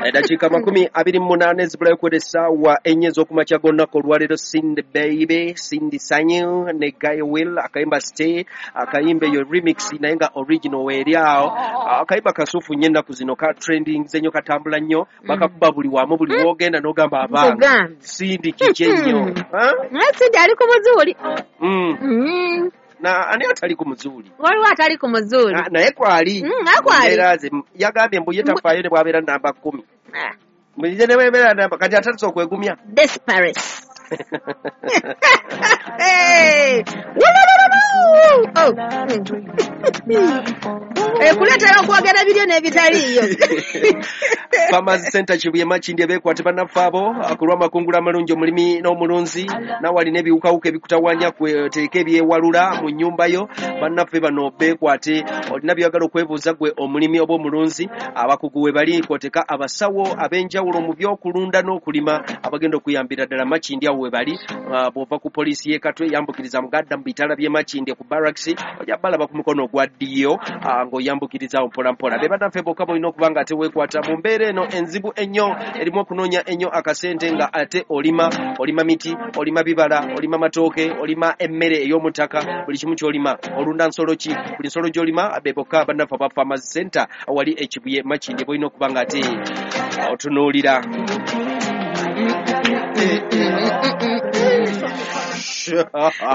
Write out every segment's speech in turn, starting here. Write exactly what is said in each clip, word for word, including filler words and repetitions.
Eddakiika makumi abiri mu munaana ezibulayo kwera essaawa ennya ez'okumakya g'olunaku olwaleero. Cindy Baby, Cindy Sanyu ne Guy Will, akayimba Stay, akayimba eyo remix naye nga original weeri awo. Akayimba kasuufu nnyo, ennaku zino ka trending nnyo, katambula nnyo, bakakuba buli wamu, buli w'ogenda n'ogamba abange. Nkugambye. Cindy kiki ennyo? Ha? Naye Cindy ali ku muzuuli. Mm. Mm. Na ani atali ku muzuuli? Waliwo atali ku muzuuli. Na- naye kwali. Mm, naye kwali. Mbeera ze yagambye mbu ye tafaayo ne bw'abeera namba kkumi. Ah, Mbu ne bw'abeera namba kati atandise okwegumya. Desperate. Hey! Wulululu! Oh. Eh, kuleetera okwogera ebiryo n'ebitaliiyo. Farmers Center Kibuye Makindye beekwate bannaffe abo ku lw'amakungula amalungi, omulimi n'omulunzi naawe alina ebiwukawuka ebikutawaanya, kweteeka ebyewalula mu nnyumba yo, bannaffe bano beekwate. Olina by'oyagala okwebuuza gwe omulimi oba omulunzi, abakugu we bali, kwoteka abasawo ab'enjawulo mu by'okulunda n'okulima abagenda okuyambira ddala. Makindye awo we bali. Ah, bw'ova ku poliisi y'e Katwe, yambukiriza mugadda mu bitala by'e Makindye ku barracks, ojja balaba ku mukono ogwa ddyo, ah, ng'oyambukiriza awo mpola mpola. Be bannaffe bokka mulina okuba nga ate weekwata mu mbeera eno enzibu ennyo erimu okunoonya ennyo akasente nga ate olima, olima miti, olima bibala, olima matooke, olima emmere ey'omu ttaka, buli kimu ky'olima, olunda nsolo ki, buli nsolo gy'olima, be bokka bannaffe aba Farmers Center awali e Kibuye Makindye bolina okuba nga ate otunuulira.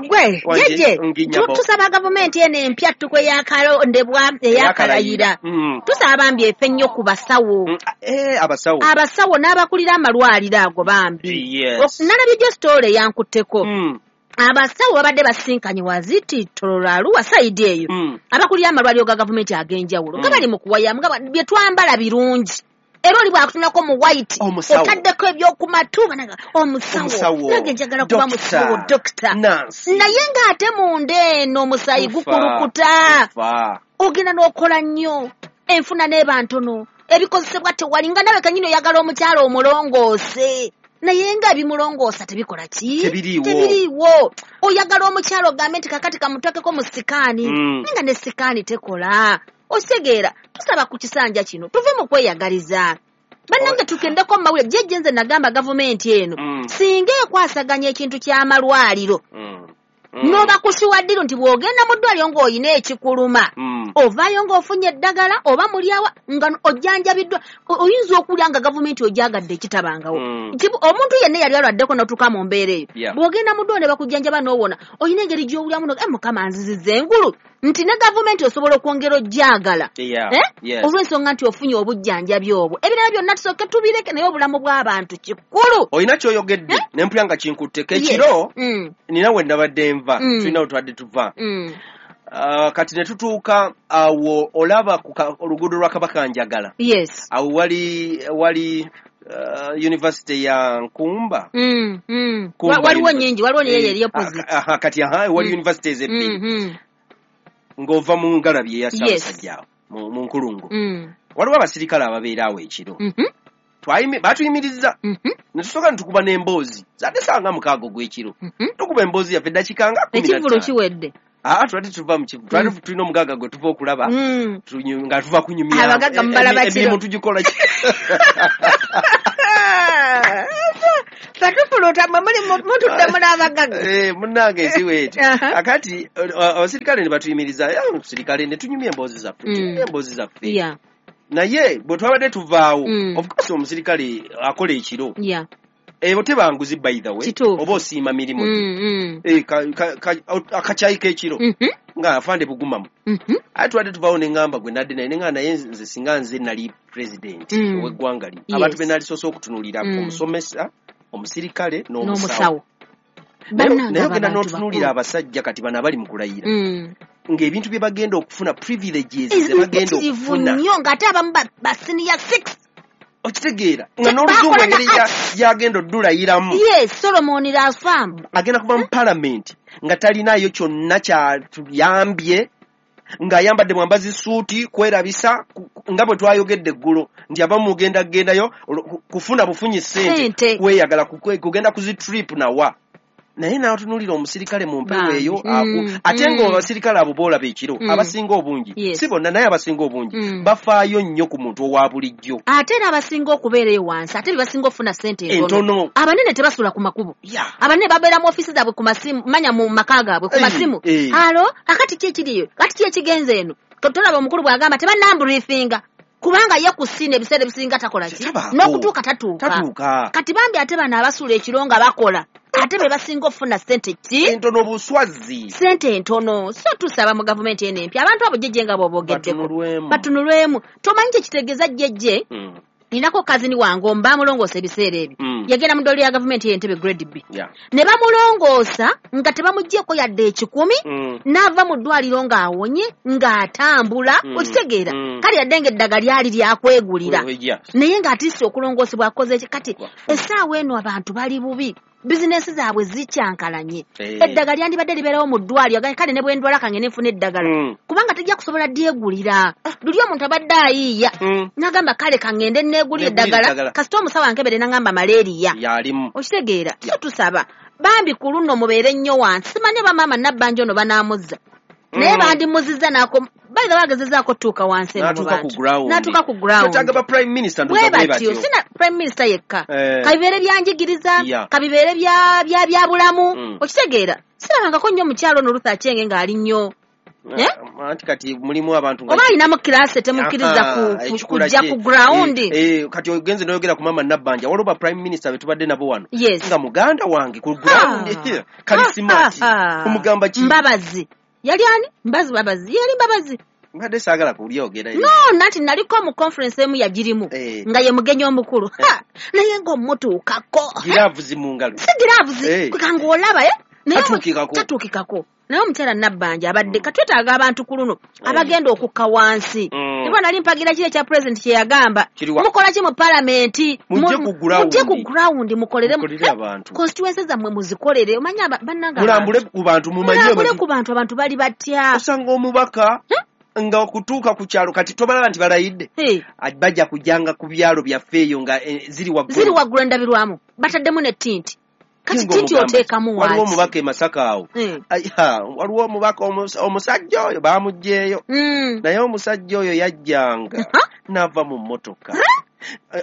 Gwe jeje, Nginyabo. tusaba gavumenti eno empya ttukwe eyakalondebwa, eyakalayira, Mm. tusaba bambi efe nnyo ku basawo. Mm, eh, abasawo. Abasawo n'abakulira amalwaliro ago bambi. Yes. Nalabye gyo story eyankutteko. Mm, Abasawo babadde basinkanye waziti Tororo, side eyo, mm. abakulira amalwaliro ga gavumenti ag'enjawulo nga Mm. bali mu kuwayamu nga ba- bye twambala birungi, era oli bwakutunako mu white, Omusawo. otaddeko ebyokumatu, banaga omusawo, Omusawo. nange njagala kuba Doctor. musawo, dokita. Nurse. Naye ng'ate munda eno omusaayi Tufa. gukulukuta. Tufa. Ogenda n'okola nnyo, enfuna n'eba ntono, ebikozesebwa tewali, nga nawe kanyini oyagala omukyala omulongoose naye nga ebimulongoosa tebikola ki? Tebiriiwo. Tebiriiwo. Oyagala omukyala ogambe nti kakati kamutakeko mu sikaani, Mm. naye nga ne sikaani tekola. Okitegeera? Tusaba ku kisanja kino tuve mu kweyagaliza. Bannange, tugendeko mu mawulire. Jjejje, nze nagamba gavumenti eno Mm. singa ekwasaganya ekintu ky'amalwaliro, Mm. Mm. n'obakusiwa ddiru nti bw'ogenda mu ddwaliro ng'olina ekikuluma, Mm. ovaayo ng'ofunye eddagala oba mulyawa nga ojjanjabiddwa. O- oyinza okulya nga gavumenti ogyagadde ekitabangawo. Mm. Nti omuntu yenna yali alwaddeko n'otuuka mu mbeera eyo, Yeah. bw'ogenda mu ddwaliro ne bakujjanjaba n'owona, olina engeri gy'owulyamu no, "Eh, Mukama nziziza engulu," nti ne gavumenti osobola okwongera ojjagala. Yeah. Eh? Yes. Olw'ensonga nti ofunye obujjanjabi obwo. Ebirala byonna tusooke tubireke, naye obulamu bw'abantu kikulu. Olina kyoyogedde ne mpulira nga kinkutteko Yes. ekiro. Mm, Nina we nabadde nva, Mm. tulina we twadde tuva. mm. Ah, kati ne tutuuka awo, olaba ku ka- oluguudo lwa Kabaka Njagala, yes awo wali wali uh, university ya Nkumba. Mm, mm. Kumba Wa- waliwo University. nyingi, waliwo neyo Eh, eri opposite. aha, kati aha wali Mm. universities ebbiri Mm, ng'ova mu ngalabi eya Yes. Ssaabasajja awo mu mu nkulungo, mm, waliwo abasirikale ababeera awo ekiro. mhm, Twayimi- baatuyimiriza mhm, ne tusooka ne tukuba n'emboozi zadde sanga mukaaga ogw'ekiro. mhm. Tukuba emboozi yaffe eddakiika nga kumi na Ekivvulu ttaano. kiwedde. Aa, twali tuva mu kivu, twali tulina omugagga gwe tuva okulaba, Mm. tunyu- nga tuva kunyumya. Abagagga mubalaba Emi- kiro. Emirimu tugikola ki? Fatufuluta mwe muli mu- mutudde muli abagagga. Eh, munnange ensi weeti. Aha. Akati eh, abasirikale ne batuyimiriza, "Eh, omusirikale," ne tunyumya emboozi zaffe, Mm. tunyumya emboozi zaffe. Yeah, Naye bwe twabadde tuvaawo, Mm. of course omusirikale akola ekiro, yeah. ebo tebanguzi, by the way. Kituufu. Oba osiima mirimu gye. Mm, mm. Eh, ka- ka- ka- akacyayi k'ekiro Mhm, nga afande bugumamu. mhm. Ate twadde tuvaawo ne ŋŋamba gwe nadde naye, ne ŋŋamba naye nze singa nze nali president Mm. ow'eggwanga lino, Yes. abantu be nalisoose okutunuulira, Mm. omusomesa, omusirikale n'omusawo. N'omusawo. Naye Bannange, naye ogenda abantu n'otunuulira bakulu. abasajja kati bano abali mu kulayira, Mm. ng'ebintu bye bagenda okufuna, privileges ze bagenda Mpitirivu okufuna, nnyo, ng'ate abamu ba- ba senior six. Okitegeera nga n'oluzungu Bakola na engeri ya- gy'agenda oddulayiramu. Yes, Solomon Rafamu. Agenda kuva mu palamenti nga talinaayo kyonna kyatuyambye, ng'ayambadde mwambazi suuti kwerabisa, ku- ku- nga bwe twayogedde eggulo nti abamu mugenda kugendayo olwo- ku- kufuna bufunyi ssente, Ssente. kweyagala, kukwe- kugenda ku zi trip nawa. Naye n'atunuulira omusirikale mu mpewo Bambi. eyo, Mm, aku- ate mm. nga abasirikale abo boolaba ekiro, Mm. abasinga obungi, Yes. si bonna, naye abasinga obungi Mm. bafaayo nnyo ku muntu owa bulijjo. Ate era abasinga okubeera eyo wansi ate be basinga okufuna ssente entono. Entono. Abanene tebasula ku makubo. Yeah. Abanene babeera mu ofiisi zaabwe ku masimu, manya mu maka gaabwe ku Eh, masimu. eh. Alo, akati ki ekiriyo? Kati ki ekigenze eno? Tolaba omukulu bw'agamba tebannambriifinga. Kubanga ye ku ssiini ebiseera ebisinga takola ki? Tabaako. N'okutuuka tatuuka. Tatuuka. Kati bambi ate bano abasula ekiro nga bakola ate be basinga okufuna ssente ki? Entono buswazi. Ssente entono. So tusaba mu gavumenti eno empya abantu abo jjejje nga bw'oboogeddeko. Batunulwemu. Batunulwemu. Tomanyi kye kitegeeza jjejje? Mm. Ninako kazini wange omu bamulongoosa ebiseera ebyo. Mm. Yagenda mu ddwaliro lya gavumenti ey'Entebbe grade B. Yeah. Ne bamulongoosa nga tebamuggyeeko yadde ekikumi. Mm. N'ava mu ddwaliro ng'awonye ng'atambula. Mm. Okitegeera? Mm. Kale yadde ng'eddagala lyali lyakwegulira. We- we- yeah. Naye ng'atiisa okulongoosebwa akoze ki? Kati Wafu. essaawa eno abantu bali bubi. Bizinensi zaabwe zikyankalanye. Eh. Eddagala lyandibadde libeerawo mu ddwaliro. Kale ne bwe ndwala kange ne nfuna eddagala. Mm. Kubanga tejja kusobola dyegulira. Luli omuntu abadde ayiiya. Mm. N'agamba kale kangende neegulire Neegulire eddagala. eddagala. Kasita omusawo ankebere n'angamba malaria. Yalimu. Okitegeera? So tusaba. Bambi ku luno mubeere nnyo wansi. Simanyi oba maama Nabbanja ono banaamuzza. Naye Mm. bandimuzizza n'ako by the way agezezaako otuuka wansi eno mu N'atuuka ku bantu. ground. N'atuuka ku ground. Twetaaga ba prime minister Bwe ndowooza bwe batyo. batyo. Sina prime minister yekka. Eh. Kabibeere byanjigiriza, Yeah. kabibeere bya bya bya bulamu. Mm. Okitegeera? Sirabangako nnyo omukyala ono Ruth Achenge ng'ali nnyo. Eh? Anti kati mulimu abantu nga Oba alinamu kiraasi temukkiriza Aha, ku- ku- ekikula kujja kye. ku ground. Eh, eh, kati ogenze n'oyogera ku maama Nabbanja, waliwo ba prime minister be tubadde nabo wano. Yes. Nga muganda wange ku ground. Ha. Kali smart. Ha, ha, ha. Omugamba ki? Mbabazi. Yali ani? Mbazi Mbabazi. Yali Mbabazi. Mbadde saagala kulyogera. No, nati naliko mu conference emu yagirimu. Eh. Nga ye mugenyi omukulu. Ha! Naye ng'omutuukako. Giraavuzi mu ngalo. Si giraavuzi. Eh. Kwe ng'olaba, eh? Naye omu- Tatuukikako. Tatuukikako. Naye omukyala Nabbanja abadde katwetaaga abantu ku luno Eh. abagenda okukka wansi. Mm. Niba nali mpagira kiri ekya president kye yagamba. Kiriwa? Mukola ki mu palamenti? Mujje Mu- ku ground. Mujje ku ground mukolere. Mukolere abantu. Constituency zammwe muzikolere. Omanyi aba- bannange Mulambule abantu. ku bantu mumanye Mulambule abantu. ku bantu abantu bali batya. Osanga omubaka nga okutuuka ku kyalo kati tobalaba nti balayidde. Hey. Bajja kujjanga ku byalo byaffe eyo nga eh, ziri waggulu. Ziri waggulu endabirwamu. Bataddemu ne tinti. Kati Kinga tinti omugamba. oteekamu Waliwo waaki? omubaka e Masaka awo. Eh. Ai, ha, waliwo omubaka omus- omusajja oyo baamuggyeeyo. Mm. Naye omusajja oyo yajjanga Ha? n'ava mu mmotoka.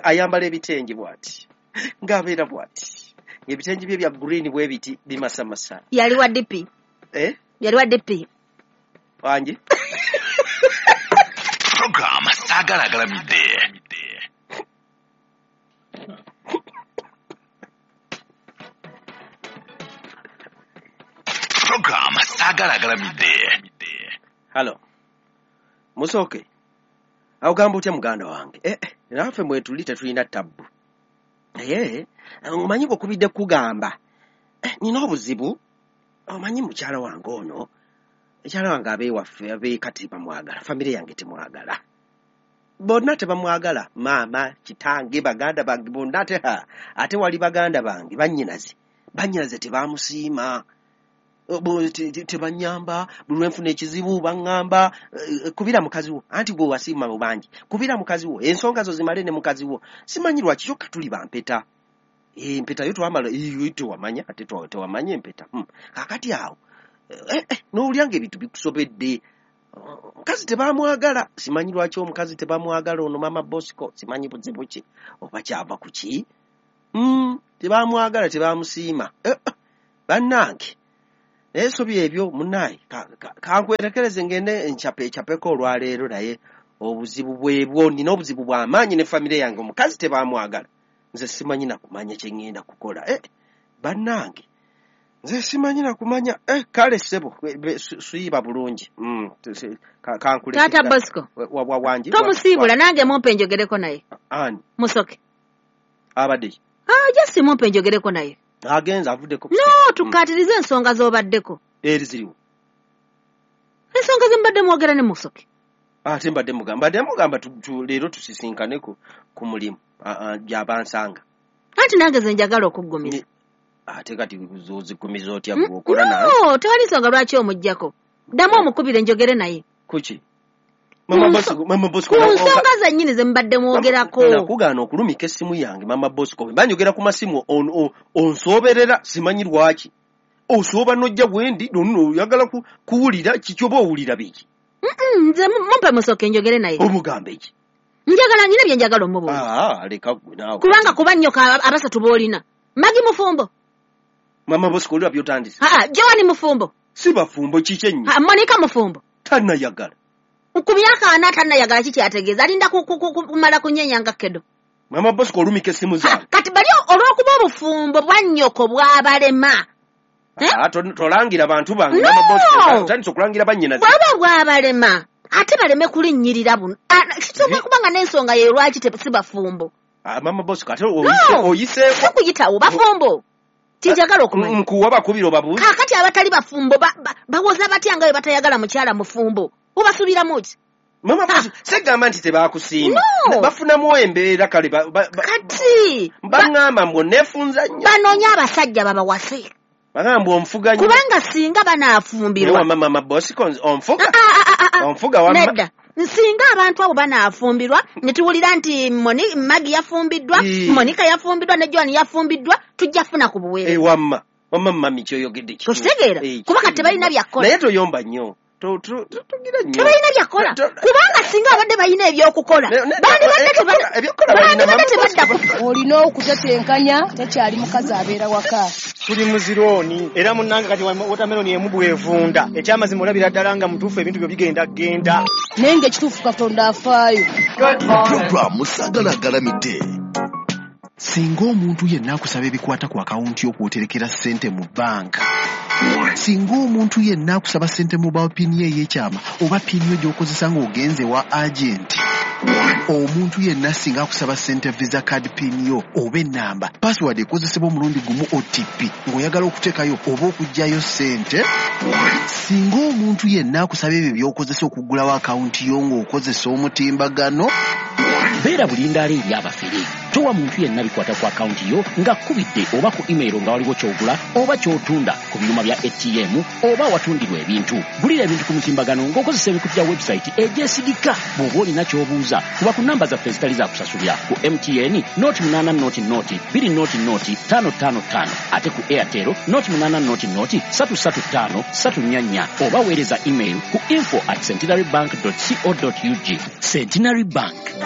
Ayambala ebitengi bw'ati. Ng'abeera bw'ati. Ebitengi bye bya green bwe biti bimasamasa. Yali wa D P. Eh? Yali wa D P. Wangi? Program Saagala Agalamidde. Program Saagala Agalamidde. Halo. Musooke. Awo gamba otya muganda wange? Eh, eh, naffe mwetuli tetulina tabbu. Naye omanyi bw'okubidde kugamba. Eh, nina obuzibu. Omanyi mukyala wange ono. Mukyala wange ab'ewaffe ab'ekati bamwagala. Famire yange temwagala. Bonna tebamwagala. Maama, kitange, baganda bange bonna ate ha. Ate wali baganda bange bannyinaze. Bannyinaze tebamusiima. Bo- te- te- tebanyamba buli lwe nfuna ekizibu baŋŋamba eh, kubira mukazi wo anti gwe wasiima mu bangi kubira mukazi wo ensonga zo zimale ne mukazi wo simanyi lwaki kyokka tuli bampeta Eh, empeta yo twamala eh, tewamanya ate twa- tewamanya empeta Hmm. Kaakati awo eh, eh, n'owulira ng'ebintu bikusobedde. Omukazi tebamwagala simanyi lwaki omukazi tebamwagala ono maama Bosco simanyi buzibu ki oba kyava ku ki Mm, tebamwagala tebamusiima. Eh, eh, bannange naye so byebyo munnaye kankwerekereze ngende nchape chapeko olwaleero naye obuzibu bwebwo nina obuzibu bw'amaanyi ne famire yange omukazi tebamwagala nze simanyi na kumanya kye ŋŋenda kukola. Eh, bannange nze simanyi na kumanya. Eh, kale ssebo suyiba bulungi. Mm, kankuleke. Taata Bosco. Wa, wa, wangi Tomusiibula nange mumpe njogereko naye. Ani? Musoke. Abadde ki? Ah, just mumpe njogereko naye. Agenze avuddeko. No, tukaatirize ensonga z'obaddeko. Eri ziriwo. Ensonga ze mbadde mwogera ne Musoke. Ate mbadde mugamba, mbadde mugamba leero tusisinkane ku, ku mulimu gy'abansanga. Anti nange ze njagala okuggumiza. Ate kati oziggumiza otya bw'okola nange? No, tewali nsonga lwaki omuggyako. Ddamu omukubire njogere naye. Kuki? Mama Bosco, Mama Bosco. Ku nsonga zennyini ze mbadde mwogerako. Nakugaana okulumika essimu yange Mama Bosco. Bwe mba njogera ku masimu onsooberera simanyi lwaki. Osooba n'ojja bwendi nonno oyagala kuwulira kiki oba owulira biki? Nze mumpe musooke njogere naye. Omugambe ki? Njagala nyina bye njagala omubuuza. Ah, leka gwe naawe. Kubanga kuba nnyoka abasatu b'olina. Magi mufumbo. Mama Bosco olwa by'otandise. Aa, Joani mufumbo. Si bafumbo kiki ennyo? Aa, Monica mufumbo. Tannayagala. Ku myaka ana tannayagala kiki ategeeza? Alinda kumala kunyenya nga kedo. Mama Bosco olumika essimu zange. Kati bali olw'okuba obufumbo bwa nnyoko bwabalema. Ah, tolangira bantu bange. Mama Bosco otandise okulangira bannyina. Bwaba bwabalema ate baleme kulinnyirira buno. Kisobola kubanga n'ensonga ye lwaki si bafumbo. Ah, Mama Bosco ate oyiseeko. Okuyitawo bafumbo. Tinjagala okumanya. Nkuwa bakubira obabuuza. Kaakati abatali bafumbo bawoza batya nga bwe batayagala mukyala mufumbo? Obasuubiramu ki? Mama Bosco segamba nti tebakusiima. Bafunamu embeera kale kati baŋŋamba mbu neefunza nnyo. Banoonya abasajja babawase. Bagamba onfuga nnyo. Kubanga singa banaafumbirwa. Naye Mama Bosco onfuga. Onfuga wamma. Nedda. Nsinga abantu abo banaafumbirwa ne tuwulira nti Magi yafumbiddwa, Monica yafumbiddwa ne Joan yafumbiddwa, tujja funa ku buweereza. Eh, wamma. Wamma mami kyoyogedde kituufu. Tokitegeera? Kuba kati tebalina byakukola. Naye toyomba nnyo. Togira nnyo. Tebalina byakukola. Kubanga singa abadde balina ebyokukola. Bandibadde tebadda ku. Olina okutetenkanya tekyali mukazi abeera waka. Tuli muzirooni era munnange kati watermelon emu bw'evunda. Ekyamazima olabira ddala nga mutuufu ebintu byo bigenda genda. Naye ng'ekituufu Katonda afaayo. Pulogulaamu Saagala Agalamidde. Singa omuntu yenna akusaba ebikwata ku akawunti y'okwoterekera ssente mu bbanka, singa omuntu yenna akusaba ssente mu pini ey'ekyama oba pini yo gy'okozesa ng'ogenze wa agenti, omuntu yenna singa akusaba ssente visa card pin yo oba ennamba, password ekozesebwa omulundi gumu O T P ng'oyagala okuteekayo oba okuggyayo ssente, singa omuntu yenna akusaba ebyo by'okozesa okuggulawo akawunti yo ng'okozesa omutimbagano, beera bulindaala eri abafere. Towa muntu yenna bikwata ku akawunti yo ng'akubidde oba ku email nga waliwo ky'ogula oba ky'otunda ku byuma bya A T M oba awatundirwa ebintu. Gulira ebintu ku mutimbagano ng'okozesa emikutu gya website egyesigika. Bw'oba olina ky'obuuza kuba ku namba zaffe ezitali za kusasulira ku M T N noti munaana noti noti bbiri noti noti ttaano ttaano ttaano ate ku Airtel noti munaana noti noti ssatu ssatu ttaano ssatu nnya nnya oba weereza email ku info at centenary bank dot co dot ug. Centenary Bank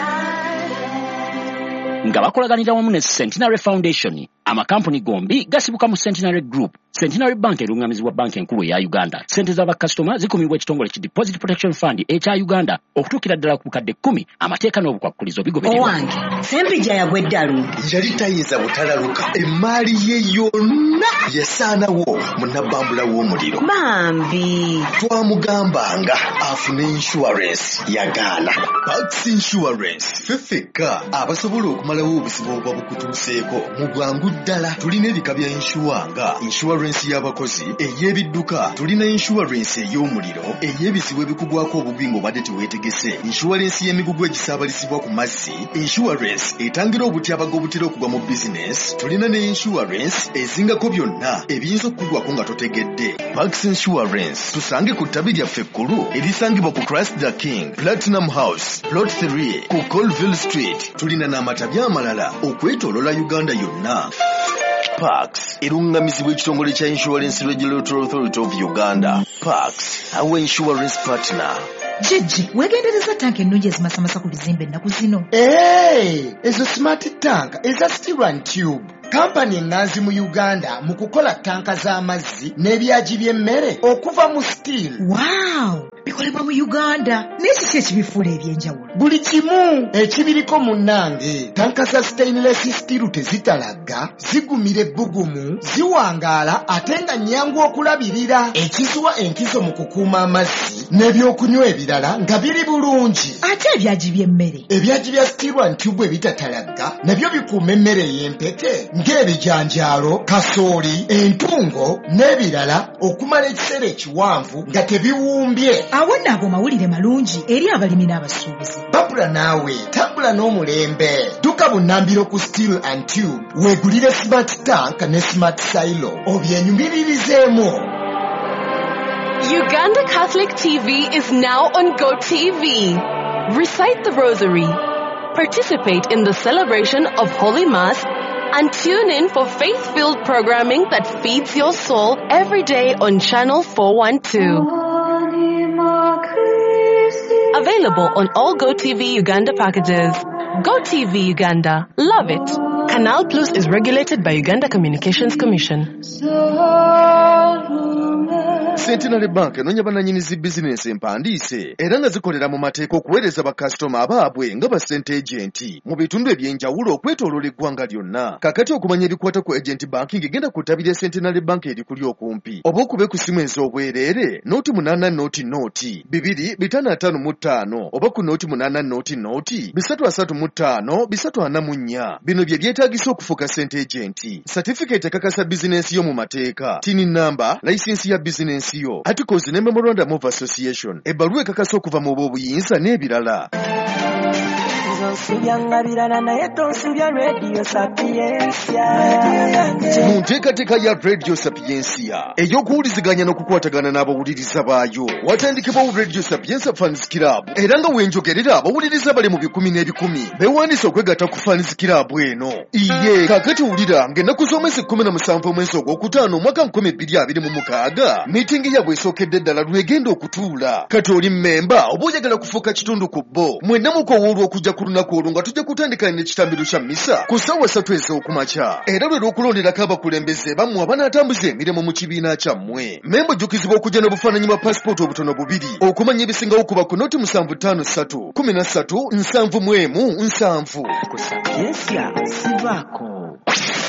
nga bakolaganira wamu ne Centenary Foundation. Amakampuni gombi gasibuka mu Centenary Group. Centenary Bank erungamizibwa banka enkulu eya Uganda. Ssente z'abakasitoma zikumibwa ekitongole ki Deposit Protection Fund ekya Uganda okutuukira ddala ku bukadde kkumi. Amateeka n'obukwakulizo bigobererwa. Owange, Sempijja yagwa eddalu. Yali tayinza butalaluka. Emmaali ye yonna yasaanawo mu nabbambula w'omuliro. Bambi. Twamugambanga afune insurance yagaana. Pax Insurance ffe ffekka abasobola okumalawo obuzibu obuba bukutuuseeko mu bwangu ddala. Tulina ebika bya insure nga insurance y'abakozi, ey'ebidduka, tulina insurance ey'omuliro, ey'ebizibu ebikugwako obubi ng'obadde teweetegese, insurance y'emigugu egisaabalizibwa ku mazzi, insurance etangira obutyabaga obutera okugwa mu bizinesi, tulina ne insurance ezingako byonna ebiyinza okukugwako nga totegedde. Pax Insurance tusange ku ttabi lyaffe ekkulu erisangibwa ku Christ the King, Platinum House, Plot three ku Colville Street. Tulina n'amatabi amalala okwetooloola Uganda yonna. Pax erungamizibwa ekitongole kya Insurance Regulatory Authority of Uganda. Pax, our insurance partner. Jjajja, weegendereza tanka ennungi ezimasamasa ku bizimbe ennaku zino. Hey, ezo smart tank eza steel and tube. Kampani eŋŋanzi mu Uganda mu kukola tanka z'amazzi n'ebyagi by'emmere okuva mu steel. Wow! Bikolebwa mu Uganda. Naye kiki ekibifuula eby'enjawulo? Buli kimu ekibiriko munnange. Tanka za stainless steel tezitalagga, zigumira ebbugumu, ziwangaala ate nga nnyangu okulabirira. Ekizuwa enkizo mu kukuuma amazzi n'ebyokunywa ebirala nga biri bulungi. Ate ebyagi by'emmere? Ebyagi bya steel and tube ebitatalagga nabyo bikuuma emmere ey'empeke ng'ebijanjaalo, kasooli, entungo n'ebirala okumala ekiseera ekiwanvu nga tebiwumbye. Awo nno ago mawulire malungi eri abalimi n'abasuubuzi. Babula naawe, tambula n'omulembe. Dduka bunnambiro ku Steel and Tube, weegulire smart tank ne smart silo obyenyumiririzeemu. Uganda Catholic T V is now on GoTV. Recite the Rosary. Participate in the celebration of Holy Mass And tune in for faith-filled programming that feeds your soul every day on Channel four one two. Available on all GoTV Uganda packages. GoTV Uganda. Love it. Canal Plus is regulated by Uganda Communications Commission. Centenary Bank enoonya bannannyini zi bizinensi empandiise era nga zikolera mu mateeka okuweereza bakasitoma abaabwe nga ba ssente agenti mu bitundu eby'enjawulo okwetooloola eggwanga lyonna. Kaakati okumanya ebikwata ku agent banking genda ku ttabi lya Centenary Bank erikuli okumpi oba okube ku ssimu ez'obwereere nooti munaana nooti nooti bibiri bitaano ataano mu ttaano oba ku nooti munaana nooti nooti bisatu asatu mu ttaano bisatu ana mu nnya. Bino bye byetaagisa okufuuka ssente agenti: satifikeeti ekakasa bizinensi yo mu mateeka, TIN namba, layisinsi ya bizinensi yo, articles ne memorandum of association, ebbaluwa ekakasa okuva mu b'obuyinza n'ebirala. Mu nteekateeka ya Radio Sapientia ey'okuwuliziganya n'okukwatagana n'abawuliriza baayo, watandikibwawo Radio Sapientia Fans Club, era nga wenjogerera abawuliriza bali mu bikumi n'ebikumi beewandiise okwegatta ku Fans Club eno. Iye kaakati wulira ng'ennaku z'omwezi kkumi na musanvu omwezi ogwokutaano omwaka nkumi bbiri abiri mu mukaaga miitingi yaabwe esookedde ddala lwegenda okutuula. Kati oli mmemba oba oyagala kufuuka kitundu ku bo, mwenna mukowoolwa okujja ku lunaku olwo nga tujja kutandika n'ekitambiro kya mmisa ku ssaawa ssatu ez'okumakya, era lwe lw'okulonderako abakulembeze bammwe abanaatambuza emirimu mu kibiina kyammwe. Memba ojjukizibwa okujja n'obufaananyi bwa paasipooti obutono bubiri. Okumanya ebisingawo kuba ku nooti musanvu ttaano ssatu kumi na ssatu nsanvu mu emu nsanvu. Ku Sapientia sivaako.